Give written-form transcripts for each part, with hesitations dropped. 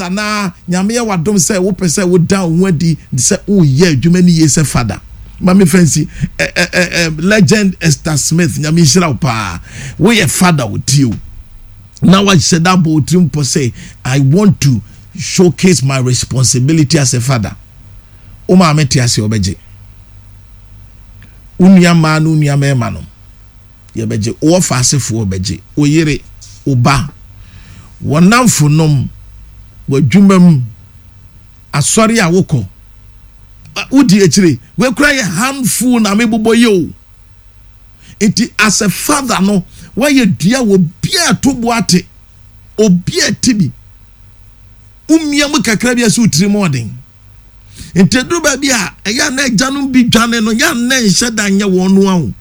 Anaa Nyame yɛ w'adom sɛ wopɛ sɛ woda wo ho adi sɛ woyɛ adwuma no yie sɛ fada. Ma me fa nsi ɛ ɛ ɛ ɛ Legend Esther Smith, Nyame nhyira wo paa. Woyɛ fada o, tie o. Na wahyɛ da abɔ wo tirim pɔ sɛ I want to showcase my responsibility as a father. Wo maame te ase ɔbɛgye. Wo nua mmaa ne wo nua mmarima no. Yɛbɛgye wo wɔfaasefoɔ bɛgye wo yere, wo ba, w'nnamfonom, w'adwuma mu, asɔre a wokɔ, wodi akyire. Wei koraa yɛ handful na mebobɔ yi o. Nti as a father no, woayɛ dua wɔ obiara to bo ate, obiara ti bi. Womia mu kakra bi a sɛ wo tirim ɔden. Nti ɛduru baabi a, ɛyɛ a na agyanom bi dwane no, yɛ a na ɛnhyɛ da nyɛ wɔn noa o.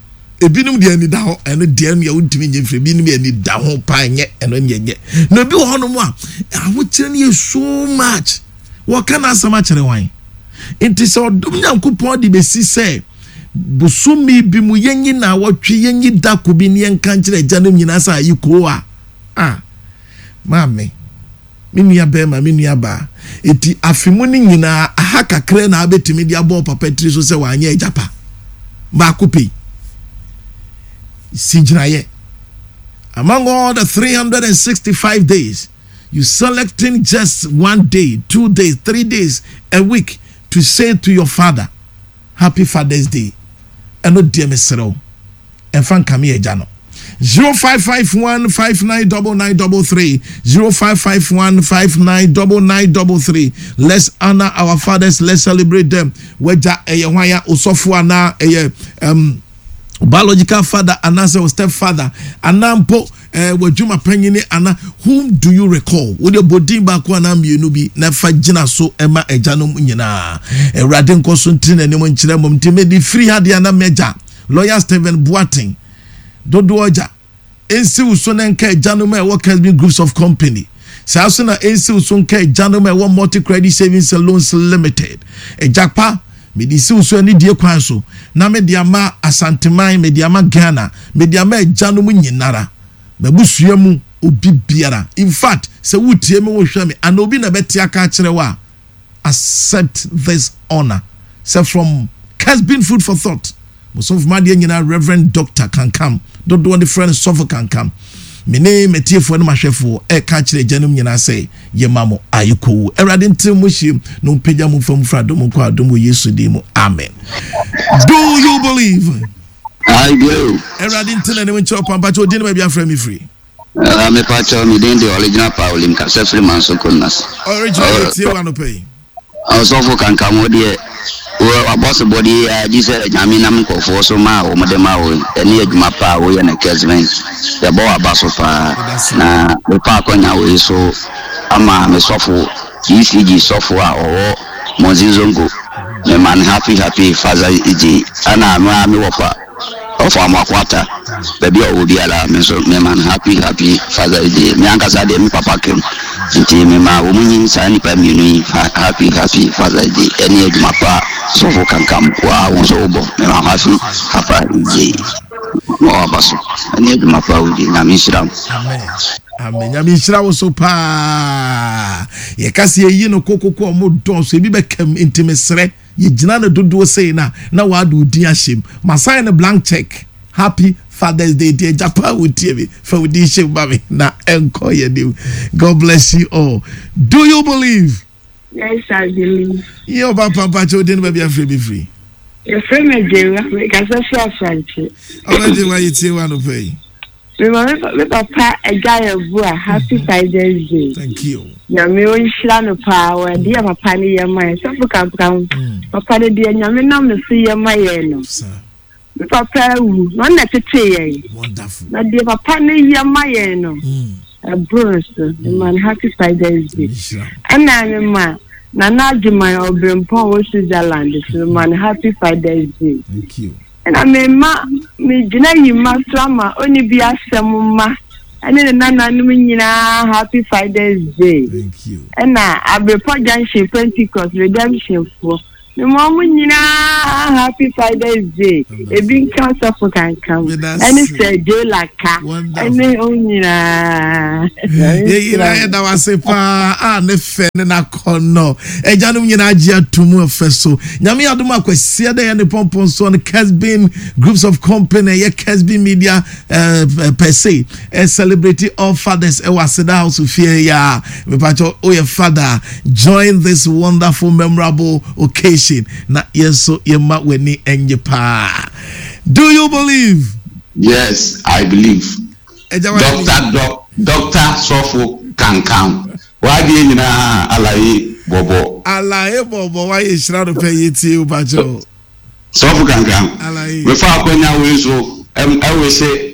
Ebinom deɛ ani da hɔ, ɛno deɛ ɛno deɛ wontumi nyɛ mfiri, ebinom deɛ ani da ho paa nyɛ, ɛno deɛ nyɛ. Na ebi wɔ hɔnom a, ahokyerɛ no yɛ so much. Wɔka n'asɛm akyerɛ wan? Nti sɛ ɔdom Nyankopɔn de bɛsi sɛ bosome bi mu yɛnyi naawɔtwe, yɛnyi da ko bi ne yɛnka nkyerɛ agyanom nyinaa sɛ ayi koo a, ah, maame. Me nua barima, me nua baa, enti afe mu no nyinaa aha kakra na abɛtumi de abɔ wo papa tiri so sɛ wanyɛ agya pa? Baako pɛ yi. Si gyinaeɛ. Among all the 365 days, you selecting just one day, 2 days, 3 days, a week to say to your father, Happy Father's Day. Ɛno deɛ mesrɛ wo. Ɛmfa nkame agya no. 0551 599933 0551 599933 Let's honor our fathers, let's celebrate them. Wagya ɛyɛ hwan a osɔfo anaa ɛyɛ um, biological father anaasɛ wo step father anaa mpo eh, w'adwuma panyini anaa whom do you recall? Wode bɔ din baako anaa mmienu bi na fa gyina so ma agyanom nyinaa. Awurade nkɔ so ntiri n'anim nkyerɛ mmom nti mede firi ha deɛ na m'agya Lawyer Stephen Boateng, Dodoɔ Agya, nsi wo so na nka agyanom a ɛwɔ Kesbin Groups of Company. Saa nso na ɛnsi wo so nka agyanom a ɛwɔ Multi Credit Savings and Loans Limited. Agya pa, mede si wo so anidie kwan so, na mede ama Asanteman, mede ama Ghana, mede ama agyanom nyinara, m'abusua mu obi biara. In fact, sɛ woretie me, worehwɛ me, anaa obi na ɛbɛte aka akyerɛ wo a, accept this honour sɛ from Kesbin Food for Thought mo sɔfo m'adeɛ nyinaa Reverend Doctor Kankam dodoɔ de frɛ no Sɔfo Kankam me ne m'atiefoɔ ne m'ahwɛfoɔ ɛreka akyerɛ agyanom nyinaa sɛ yɛma mo ayekoo Awurade ntene mo hyiam na ɔmpagya mo mfa mu firi adom nkɔ adom wɔ Yesu din mu amen Do you believe? I do. Awurade ntene ne nkyerɛ ɔpampa kyɛ odin ne baabi afrɛ me firi. Ah, me pa kyɛw, me din de Original Pauli, me kasa firi Manso Konas. Original yɛ tie wa anɔpa yi. Ɔsɔfo kankam wo deɛ, wo wabɔsobɔdeɛ yi ara gye sɛ Nyame nam nkurɔfoɔ so ma a wɔn de ma wo, ɛne adwuma pa a woyɛ no Kesben, yɛbɔ w'aba so paa. Na mefa akɔnya wei so ama me sɔfo, ECG sɔfo a ɔwɔ Monzi Zongo, mema no happy happy Father's Day, ɛna me ara me wɔfa. Ɔfo Amoako-Atta, baabi a ɔwɔ biara me nso mema no happy happy Father's Day. Me ankasa deɛ me papa ka mu nti mema wɔn nyi saa nnipa mmienu yi happy happy Father's Day ɛne adwuma pa a Sɔfo Kankam wo a wo nso wobɔ mema wo happy happy Day ma waba so ɛne adwuma pa a wodi Nyame nhyira mo. Amen. Amen. Nyame nhyira wo so paa. Yɛka sɛ yɛyi no kokoko a ɔmo dɔɔso ebi bɛkam nti mesrɛ. Yɛgyina no dodoɔ sei no a na w'ade wo din ahyɛ mu. Ma sign no blank check. Happy Father's Day dear agya paa wo tie me fa wo din hyɛ mu ma me na ɛnkɔ yɛn anim. God bless you all. Do you believe? Yes, I believe. Yɛ ɔba pampa kyɛ wo din no baabi afrɛ bi firi. Yɛfrɛ me Agyewa, mekasa firi Asante. Ɔba Agyewa yɛtie wo anɔpa yi. Me ma me papa agya yɛ bo a happy mhm. Father's Day. Thank you. Nyame onhyira no paa wɔ adeɛ a papa no yɛ ma yɛn. Sɔfo kankam mm. papa no deɛ Nyame nam ne so yɛ ma yɛn no. Me papa awu na ɔno na tete yɛn. Na deɛ papa no yɛ ma yɛn no mm. ɛboro so. Me ma no happy Father's Day. Ɛna me ma Nana Adwuman Ɔbrempɔn wɔ Switzerland so me ma no happy Father's Day. Thank you. Ɛna me mma, megyina yi mma so ama ɔnni bi asɛm mma ɛne ne nananom nyinaa happy Father's Day. Thank you. Ɛna Abrepɔ Junction Pentecost Redemption foɔ. Mema ɔmo nyinaa happy Father's Day. Ebi nka sɔfo kankam ɛne sɛ Jola ka ɛne ɔmo nyinaa. Yɛn nyinaa yɛda wo ase paa a ne fɛ ne n'akɔnnɔ. Agyanom nyinaa gye ato mu ɛfɛ so. Nyame adom a Kwasiada yɛ ne pɔmpɔn soɔ no Kesbin Groups of Company ɛyɛ Kesbin Media eh, per se eh, celebrate all fathers ɛwɔ Aseda House fie ya. Mepakyɛ woyɛ father join this wonderful memorable occasion na yɛn nso yɛma w'ani nye paa. Do you believe? Yes, I believe. Doctor Doc Doctor Sɔfo Kankan w'adeɛ nyinaa alaye bɔbɔ. Alaye bɔbɔ wayɛ nhyira no pɛ yɛtie wo pakyɛ. Sɔfo Kankan mefa akwanya wei so ɛwese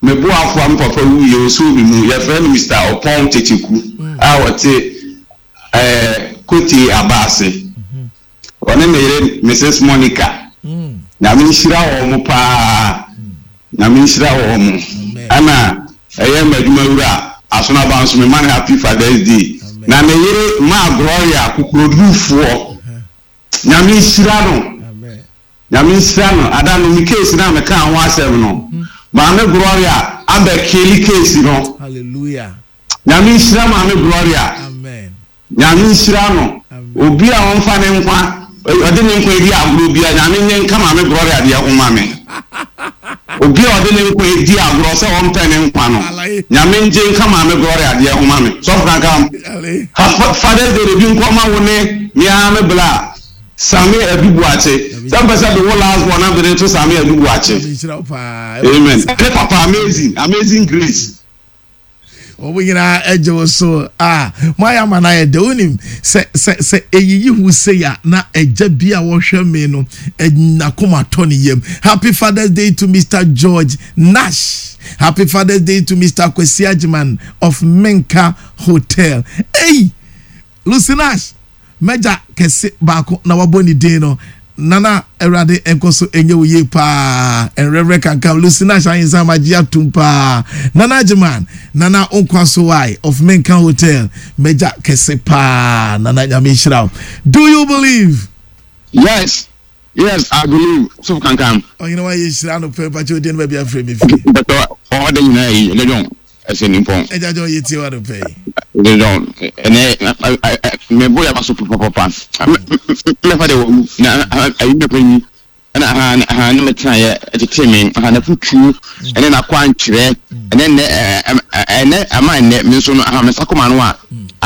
me boafo a me papa wuiɛ ɔsoo me mu yɛfrɛ no Mister Ɔpɔn Kyekyeku a ɔte ɛɛ Kotee aba ase. Ɔne ne yere Mrs Monica. Nyame nhyira wɔn paa. Nyame nhyira wɔn. Ɛna ɛyɛ m'adwuma wura Asonaba nso mema no happy Father's Day. Na ne yere Maa Gloria kokorodurufoɔ. Nyame nhyira no. Nyame nhyira no. Ada no me case no a mekaa ho asɛm no, Maame Gloria abɛ kili case no. Hallelujah. Nyame nhyira maame Gloria. Nyame nhyira no. Obi a ɔnfa ne nkwa ɔde ne nkwa edi agorɔ bia Nyame nye nka maame Gloria deɛ ho ma me. Obi a ɔde ne nkwa edi agorɔ sɛ ɔmpɛ ne nkwa no Nyame ngye nka maame Gloria deɛ ho ma me. Sɔfo Kankam, Father's Day de bi nkɔ ma wo ne me ara me bla Same Adu Boakye. Sɛ mpɛ sɛ de wo last born na mede no to Same Adu Boakye. Amen. Ne papa amazing, amazing grace. Wɔn nyinaa gye wo so a moayɛ ama no ayɛ dɛ. Wonim sɛ sɛ sɛ eyiyi ho sei a na agya bi a wɔhwɛ me no n'akoma tɔ ne yam. Happy Father's Day to Mister George Nash. Happy Father's Day to Mister Kwesi Agyeman of Menka Hotel. Ei! Lucy Nash, m'agya kɛse baako na wabɔ ne din no. Nana Awurade nkɔ so nyɛ wo yie paa. Nwerɛwerɛ kankam Lucy Nash ahensa magye atum paa. Nana Agyeman, Nana wo nkwa so wae of Menka Hotel, m'agya kɛse paa. Nana Nyame nhyira wo. Do you believe? Yes, yes, I believe. Sɔfo Kankam. Ɔhene wa yɛ nhyira no pɛ, mpakyɛ odin no baabi afrɛ me firi. Mpakyɛ ɔda nyinaa yi, ɛdɛ dɔn. Ɛsɛ nimpɔn. Agya John yɛ tie wa no pɛ yi. Agya John ɛnɛ mɛ bɔ yaba so papapapa mɛ fa de wɔ wu na ayi mɛ pɛ yi ɛna ha ha ne mɛ tena yɛ ɛtete me ha na futuo ɛne na kɔ ankyerɛ ɛnɛ nɛ ɛnɛ ama ɛnɛ me nso no ha mɛ sakoma no a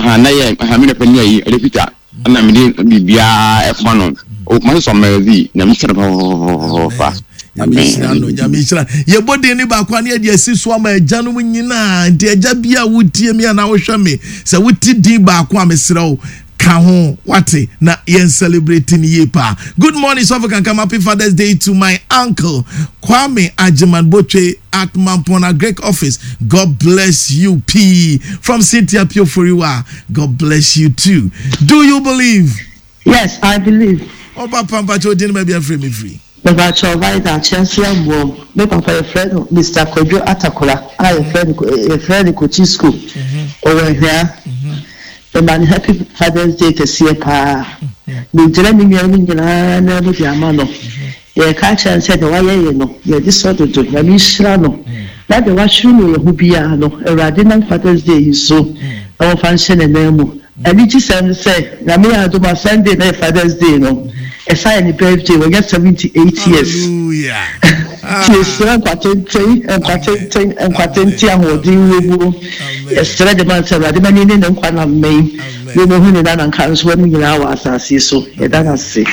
ha na yɛ ha me na pɛ ni ayi ɛde pita ɛna mede biribiara ɛkoma no okuma sɛ sɔmɛri nyame hyira no papapapaapa. Nyame nhyira no nyame nhyira yɛbɔ din ne baako a ne yɛde asi so ama agyanom nyinaa nti agya bi a wotie me anaa wohwɛ me sɛ wote din baako a mesrɛ wo ka ho wate na yɛn celebrate ne yie paa. Good morning sɔfo kankam happy father's day to my uncle Kwame Agyeman Botwe at Mampong Agric office God bless you pii from Cynthia Pioforiwa God bless you too. Do you believe? Yes, I believe. Ɔba pa mpakyɛ odin baabi afiri me firi. Mepakyɛw Vida Kyɛnse Amuom. Me papa yɛfrɛ no Mister Kwadwo Atakora a yɛfrɛ no yɛfrɛ no Kochi School. Ɔwɔ Ahwea. Mema no happy Father's Day kɛseɛ paa. Megyina me nuanom nyinaa nan mu de ama no. Yɛreka akyerɛ no sɛ deɛ wayɛ yɛn no, yɛn ani sɔ dodo. Nyame nhyira no. Na deɛ wahwere no wɔ yɛn ho biara no, Awurade nam Father's Day yi so na wɔmfa nhyɛ ne nan mu. Anigyesɛm ne sɛ, Nyame yɛ adom a, Sunday na yɛ Father's Day no, ɛsan yɛ ne birthday, wanya 78 years. Hallelujah. Nti yɛsrɛ nkwa tenten, nkwa tenten, nkwa tenten, ahoɔden wɔ mu. Yɛsrɛ de ma no sɛ Awurade ma no nni ne nkwa nna mmɛn, na ɔmmɛhu ne nana nkansowa no nyinaa wɔ asase yi so. Yɛda no ase.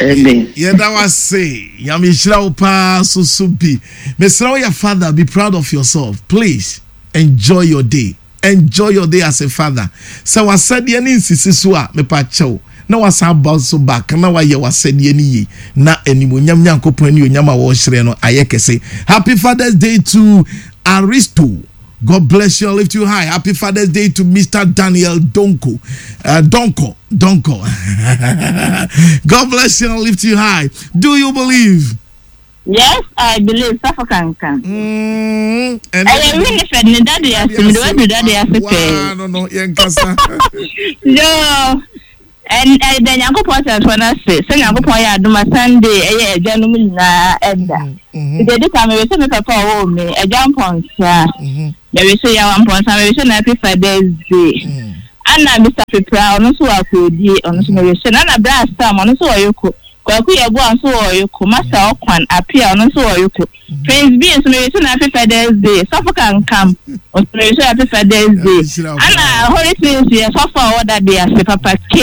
Amen. Yɛda wo ase. Nyame nhyira wo paa so so bi. Mesrɛ wo yɛ father be proud of yourself please enjoy your day enjoy your day as a father. Sɛ w'asɛdeɛ no nsisi so a mepa kyɛw na wasan aba so back na wayɛ w'asɛdeɛ no yie na animuonyam Nyankopɔn anuonyam a wɔrehyerɛn no ayɛ kɛse. Happy Father's Day to Aristo. God bless you and lift you high. Happy Father's Day to Mr. Daniel Donko. Donko. Donko. God bless you and lift you high. Do you believe? Yes, I believe. Safo kankan. Ɛyɛ Winifred ne dade ase. Mede wadu dade ase pɛɛ. No, no, yɛn kasa. Yoo. Ɛn ɛda Nyankopɔn asɛmfoɔ no ase sɛ Nyankopɔn yɛ adom a Sunday ɛyɛ agyanom nyinaa ɛda. Nti ɛdi kan mewese me papa a ɔwoo me, Agya Mpɔnsa, mewese Yawa Mpɔnsa, mewese no Happy Father's Day. Ana Mister Pepra ɔno nso wɔ Akoodie, ɔno nso mewese no. Ana Bra Sam ɔno nso wɔ Yoko. Kwaku Yeboah nso wɔ Oyoko, Master Ɔkwan Appiah ɔno nso wɔ Oyoko, Prince B nso mewish no happy Father's Day, Sɔfo Kankam nso mewish no happy Father's Day, ɛna Holy Twins yɛ sɔfo a ɔwɔ dade ase Papa K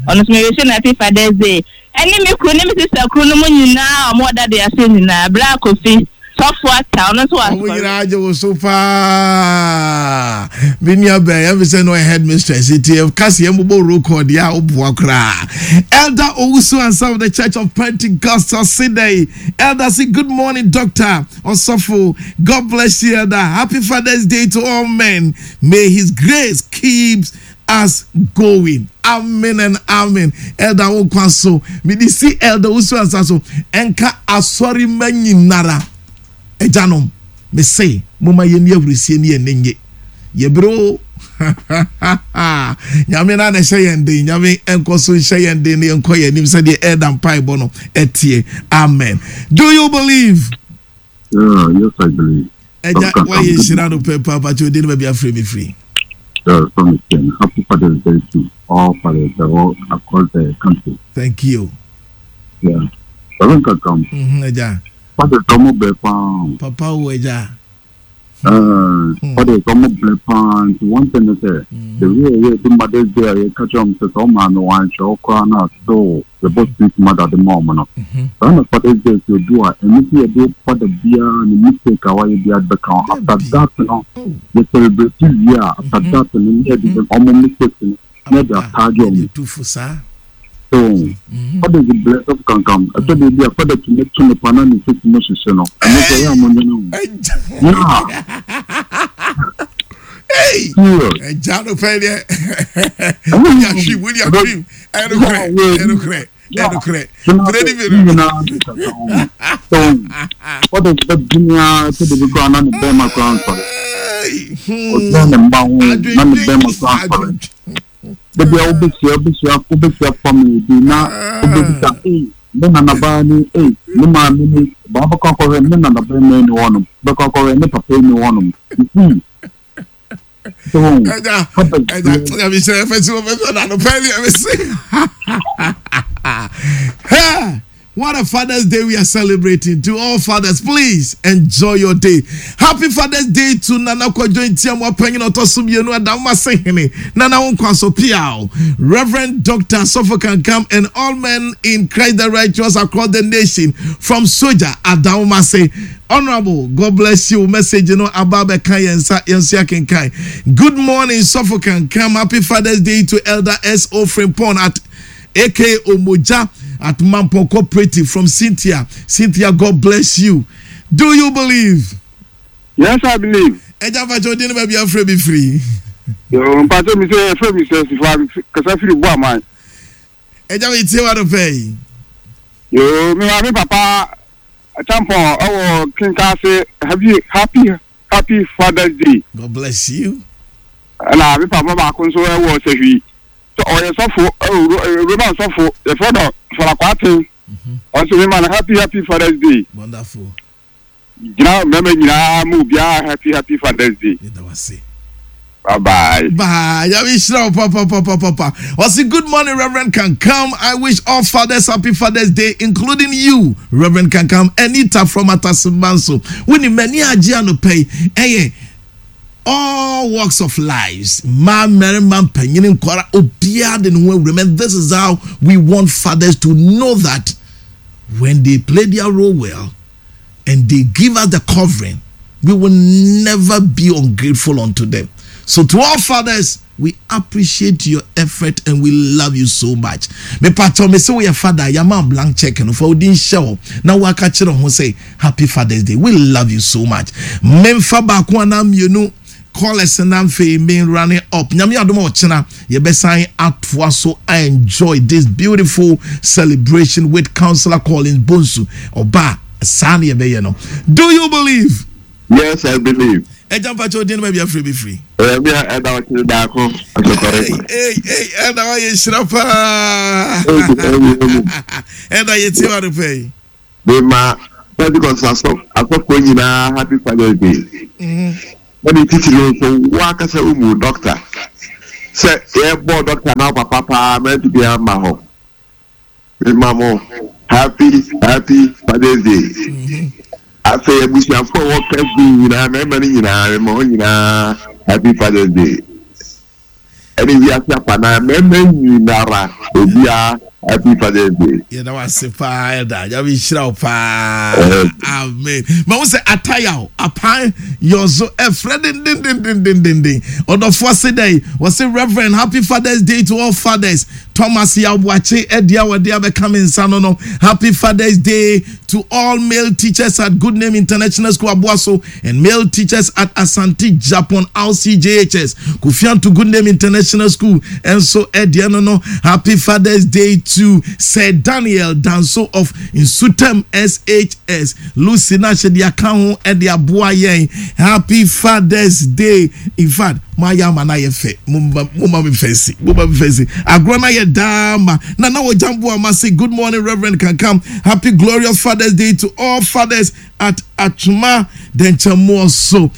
ɔno nso mewish no happy Father's Day, ɛne me kunu ne me sister kunu no mu nyinaa a wɔwɔ dade ase nyinaa, Bra Kofi. Sɔfo Atta, ɔno nso wɔ asɔre. Wɔn nyinaa gye wo so paa. Me nua bɛn, yɛn fi sɛ no headmistress nti yɛ kasi yɛn bobɔ roll call deɛ a woboa koraa. Elder Owusu Ansah of the Church of Pentecostal Sydney. Elder say good morning doctor Osofo. God bless you elder. Happy Father's Day to all men. May his grace keep us going. Amen and amen. Elder wo nkwa so. Mede si Elder Owusu Ansah so. Ɛnka asɔre mma nyinara. Agyanom, mese momma yɛnni ahurisie ne yɛn ani nnye. Yɛbrɛ o. Nyame na na ɛhyɛ yɛn den. Nyame nkɔ so nhyɛ yɛn den na yɛnkɔ yɛn anim sɛdeɛ Elder mpaebɔ no ɛteɛ. Amen. Do you believe? Yeah, yes, I believe. Ẹja wáyé nhyira no pɛ paa pàtó odi ne baabi afiri mi firi. Happy Father's Day to all fathers all across the country. Thank you. Yeah. Sọ̀rọ̀ nkankan. Ẹja. Fathers ọmọ brẹ paa. Papa wo ẹja. Fathers ọmọ brẹ paa nti one thing is sẹ the way ẹyẹ di Mother's Day a yẹ kakyɛ ọmọ sẹ sẹ ọmọ ano wọn anhwẹ ọkora na still yɛbɔ sweet mother de ma ɔmo no. Saa na Father's Day nso edu a ɛno nso yɛde father biara ne mistake a wayɛ biara de bɛka ho. After that no yɛ celebrate wie a after that no na yɛde ɔmo mistakes no na yɛde ataage ɔmo. So fathers brɛ sɔfo kankam ɛtɔ da bi a father tumi to ne pa na ne sisi mu hyehye no ɛno nso ɛyɛ a mo nwene ho. Yeah. Serious. Ɛgya no pɛ deɛ. Wuli ahwim wuli ahwim. Ɛnukurɛ ɛnukurɛ ɛnukurɛ. Pere ni mi no. Ɔde bɛ dunia sɛ de bi koraa na ne bɛrima koraa nsɔre. Ɔgyina ne mma ho na ne bɛrima koraa nsɔre. Dabi a wobɛhyia wobɛhyia wobɛhyia family bi na wobɛbisa ee ne nanabaa ni ee ne maame ni baa bɛkɔ akɔhwɛ ne nanabɛrima ni hɔnom bɛkɔ akɔhwɛ ne papa ni hɔnom. You see. Ɛgya ɛgya nyame hyɛ ɛfɛ si wɔfɛ sɛ na no pɛ ne ɛmɛ se. What a Father's Day we are celebrating. To all fathers, please enjoy your day. Happy Father's Day to Nana Kwadwo Ntiamoa Panyin Ɔtɔ so Mmienu Adamma Sehene Nana wo nkwa so piaw. Reverend Dr. Sofo Kankam and all men in Christ the Righteous across the nation from Soja Adamma Se. Honorable, God bless you. Message no aba abɛka yɛn nsa yɛn nso yɛakenkan. Good morning Sɔfo Kankam. Happy Father's Day to Elder S. O. Frimpong at aka Omoja at Mampong Cooperative from Cynthia. Cynthia, God bless you. Do you believe? Yes, I believe. Ẹja mpatsọ odi ni baabi afrɛ mi firi. Yoo mpatsọ mi sɛ ɛfrɛ mi sɛ sifa kasa firi bu aman. Ẹja mi tie wa do pɛ yi. Yoo mi maame papa Champon ɛwɔ Kinkase happy happy happy Father's Day. God bless you. Ɛna mi papa baako nso ɛwɔ Sahwi. Sɛ ɔyɛ sɔfo ɛwɔ Roman sɔfo yɛfrɛ no Fara Kwarteng. Ɔnso mi ma no happy happy Father's Day. Wonderful. Gyina mmarima nyinaa ma obiara happy happy Father's Day. Yɛda wo ase. Bye bye. Bye. Nyame nhyira wo papa papa papa. Ɔse good morning Reverend Kankam. I wish all fathers happy Father's Day including you Reverend Kankam. Anita from Atasemanso. Wonim m'ani agye anɔpa yi. Ɛyɛ all walks of lives. Mmaa, mmarima, mpanyini, nkwadaa, obiara de ne ho awura mu. And this is how we want fathers to know that when they play their role well, and they give us the covering, we will never be ungrateful unto them. So to all fathers, we appreciate your effort and we love you so much. Me pato me say we father, yama blank check no for odin show. Na waka kyerɛ ho say happy father's day. We love you so much. Memfa baako ana mmienu callers na afei me running up. Nyame adom a ɔkyena yɛbɛsan atoa so enjoy this beautiful celebration with Councillor Collins Bonsu. Ɔba saa na yɛbɛyɛ no. Do you believe? Yes, I believe. Agya mpakyɛ odin no baabi afiri bi firi. Ɛmi a ɛda ɔkyerɛ daako asɔkɔrɛ. Ee ee ɛda wayɛ nhyira paa. Ɛda yɛ tie wa no pɛ yi. Mema Pentecost asɔfoɔ nyinaa happy Father's Day. Na ne titiri nso wo ankasa wo mu doctor sɛ yɛbɔɔ doctor na wo papa paa mantumi amma hɔ. Mema mo happy happy Father's Day. Afei abusuafoɔ a wɔwɔ Kɛsbi nyinaa mmarima no nyinaa mema wɔn nyinaa happy Father's Day. Ɛne wiase afanaa mmarima nyinara obiara happy Father's Day. Yɛda wo ase paa ɛda nyame nhyira wo paa amen. Ma wo sɛ ataya o apan yɔzo ɛfrɛ dendendendendenden ɔdɔfoɔ se dɛn wɔse Reverend happy Father's Day to all fathers Thomas Yaw Boakye ɛdeɛ a wɔde abɛka me nsa no no happy Father's Day to all male teachers at Good Name International School Aboaso and male teachers at Asante Japon RCJHS Kofianto Good Name International School nso ɛdeɛ no no happy Father's Day to Sir Daniel Danso of Nsutam SHS Lucy na hyɛ de aka ho ɛde aboa yɛn happy Father's Day in fact mo ayɛ ama no ayɛ fɛ mo ma me fɛnsi mo ma me fɛnsi agorɔ no ayɛ daa ma na na wɔgya mboa ma say good morning Reverend Kankam happy glorious Father's Day to all fathers at Atwoma Dɛnkyɛmmoɔ so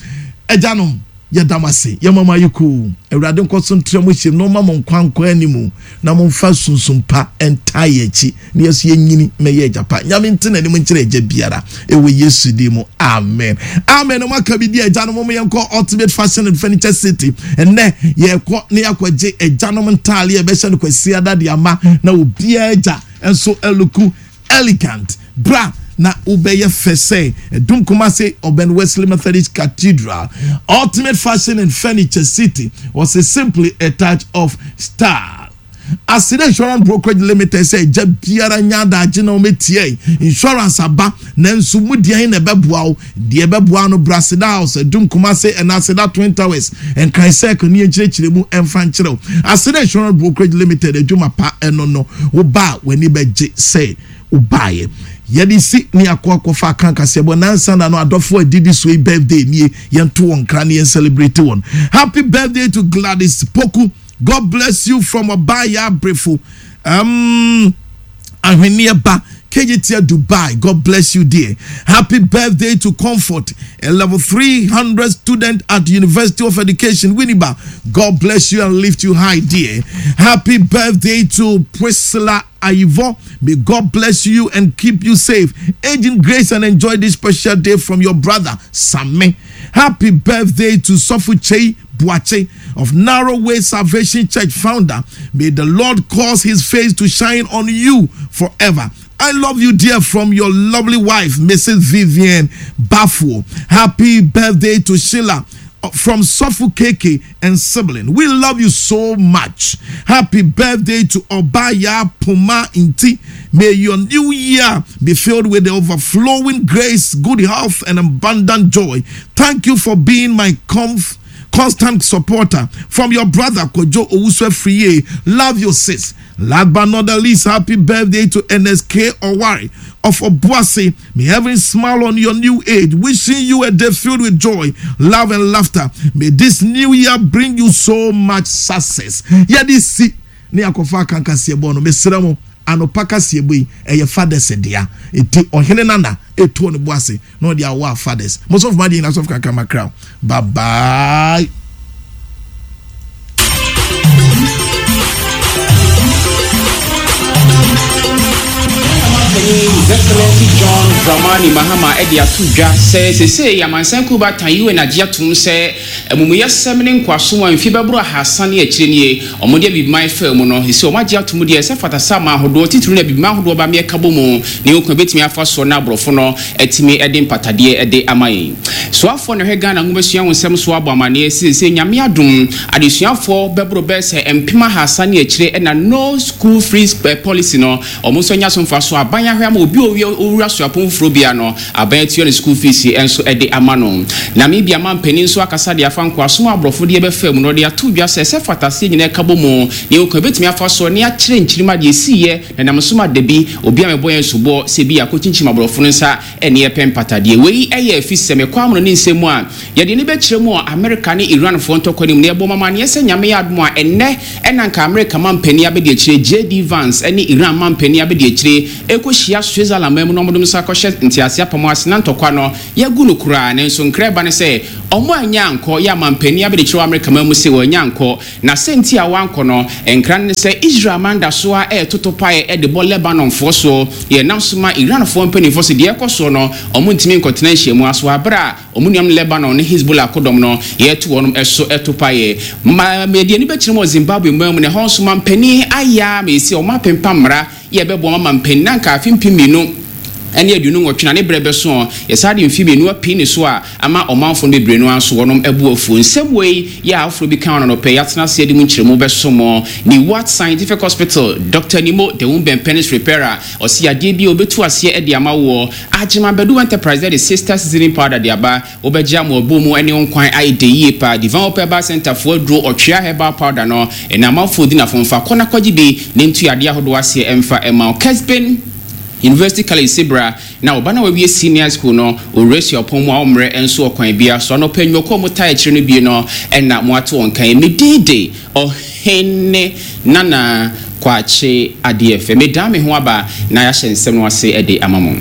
agyanom yɛda mo ase yɛma mo ayɛ koo awurade nkɔ so ntra mo hyɛm na ɔma mo nkwa nkɔ anim na momfa sunsum pa ntaa yɛn akyi na yɛso yɛnyini mɛyɛ agya pa nyame nte n'anim nkyerɛ agya biara ɛwɔ yesu din mu amen amen na moaka bi di agyanom mo yɛnkɔ ultimate fashion and furniture city ɛnɛ yɛkɔ na yɛakɔgye agyanom ntaale a ɛbɛhyɛ no kwasiada de ama na obiara agya nso ɛluku elegant bra na wobɛyɛ fɛ sɛ ɛdum kumase ɔbɛn wesley methodist cathedral ultimate fashion and furniture city was a simply a touch of style Aseda Insurance Brokerage Limited sɛ agya biara nya adagye na wɔmɛtia insurance aba nanso mu deɛn na ɛbɛboa wo deɛ ɛbɛboa no bra Aseda House Adum Kumase ɛna Aseda Twin Towers Nkran Circle ne yɛnkyerɛkyerɛ mu ɛmfa nkyerɛ wo Aseda Insurance Brokerage Limited adwuma pa ɛno no wo ba a w'ani bɛgye sɛ wobaeɛ yɛde si ne akɔ akɔfa aka kaseɛbɔ nansa na no adɔfo adidi so yi birthday nie yɛnto wɔn nkra ne yɛn celebrate wɔn happy birthday to Gladys Poku God bless you from Ɔbaayɛ Abrefo um, Ahweneɛ Ba Kejetia Dubai. God bless you dear. Happy birthday to Comfort, a level 300 student at University of Education, Winneba. God bless you and lift you high dear. Happy birthday to Priscilla Aivo. May God bless you and keep you safe. Age in grace and enjoy this special day from your brother, Same. Happy birthday to Sofu Chei Buache of Narrow Way Salvation Church founder. May the Lord cause his face to shine on you forever. I love you, dear, from your lovely wife, Mrs. Vivian Bafuo. Happy birthday to Sheila from Sofu Keke and sibling. We love you so much. Happy birthday to Obaya Puma Inti. May your new year be filled with the overflowing grace, good health, and abundant joy. Thank you for being my comf- constant supporter. From your brother Kojo Owusu Friye. Love your sis. Last but not the least, happy birthday to NSK Owari of Obuasi. May heaven smile on your new age, wishing you a day filled with joy, love, and laughter. May this new year bring you so much success. Yɛde si ne akɔfa akankaseɛ bɔ no mesrɛ mo anɔpa kaseɛ bɔ yi ɛyɛ fathers dea eti ɔhene nana etuo ne bo ase na ɔde awo a fathers mo sɔfo ma deɛ nyina sɔfo kakra makra bye bye. Panyin His Excellency John Dramani Mahama de ato dwa sɛ seesei amansan kuw baatan UN agye atom sɛ amumuyɛsɛm ne nkoasom a mfe bɛboro ahaasa ne akyire nie wɔde Abibiman faa mu no seesei wɔagye atom deɛ ɛsɛ fata sɛ aman ahodoɔ titiriw ne Abibiman ahodoɔ ba mmɛka bɔ mu ne ɔkwan a ɛbɛtumi afa soɔ na aborɔfo no atumi de mpatadeɛ de ama yɛn. Soafoɔ na ɛhwɛ Ghana nwomasua ho nsɛm so abɔ amaneɛ sɛ seesei Nyame adom adesuafoɔ bɛboro bɛyɛ sɛ 3000 ne akyire na no school free policy no wɔn nso anya so mfasoɔ. Aban ahwɛ ama obi a ɔwura suapɔn foforɔ biara no aban atua ne school fees nso de ama no. Namibia manpanin nso akasa de afa. afa nkoasom a aborɔfo de bɛfaa mu no, ɔde ato dwa sɛ, sɛ fata sɛ yɛn nyinaa ka bɔ mu na yɛhu kwan a yɛbɛtumi afa so na yɛakyerɛ nkyirimma deɛ ɛsiiɛ na ɛnam so ma da bi obi ammɛbɔ yɛn soboɔ sɛ ebia yɛakɔkyinkyim aborɔfo no nsa ne yɛpɛ mpatadeɛ. Wei yɛ afisɛm, ɛkɔ amono ne nsɛm mu a yɛde ani bɛkyerɛ mu wɔ Amerika ne Iranfoɔ ntɔkwa no mu na yɛbɔ mo amaneɛ sɛ Nyame yɛ adom a ɛnnɛ na anka Amerika mampanin abɛdiakyire JD Vance ne Iran mampanin abɛdiakyire rekɔhyia Switzerland man mu na wɔde wɔn nsa akɔhyɛ ntease apam ase na ntɔkwa no Yɛagu no koraa, nanso nkra ɛba ne sɛ, wɔn annya ankɔ, yɛ amanpanin abɛdekyerɛ wɔ Amerika man mu se wɔannya ankɔ, na sɛ nti a wɔankɔ no, nkra no ne sɛ Israel man da so ara retoto paeɛ de bɔ Lebanonfoɔ soɔ, yɛ nam so ma Iranfoɔ mpanimfoɔ se deɛ ɛrekɔ soɔ no, wɔn ntumi nkɔtena nhyiamu ase wɔ aberɛ a wɔn nuanom Lebanon ne Hezbollah akodɔm no yɛreto wɔn so to paeɛ. Ma yɛde ani bɛkyerɛ mu wɔ Zimbabwe man mu na ɛhɔ nso manpanin ayɛ ara ma yɛsi wɔn apempam mmara yɛ bɛboa ma mampanin na anka afe 2028 na ne berɛ bɛso ɔ, yɛsan de mfe mmienu apii ne so a ama ɔmanfoɔ no bebree no ara nso wɔnom bo afuo. Nsɛm wei yɛ a afoforɔ bi ka no anɔpa yi atena ase de mu nkyerɛmu bɛso mo. Niwat Scientific Hospital, Doctor Nimo, the Womb Penis Repairer, ɔse yadeɛ bi a ɔbɛtu aseɛ de ama woɔ. Agyeman Badu Enterprise de Sister Seasoning Powder de aba. Wobɛgye ama ɔbɔ mu ne wo nkwan ayɛ dɛ yie paa. Divine Hope Herbal Centre foɔ aduro ɔtwea herbal powder no ɛna amanfoɔ di nafo mfa kɔ na kɔgye bi na ntu yadeɛ ahodoɔ aseɛ mfa mma wo. Kesben University College Sebra na wo ba no a wawie senior school no ɔwura suapɔn mu a ɔmmrɛ nso ɔkwan biara so. Anɔpa nnwumakuo a wɔtaa akyire no bi no na moato wɔn kan. Me din de Ɔhene Nana Kwakye Adeɛfɛ. Medan me ho aba na yɛahyɛ nsɛm no ase de ama mo.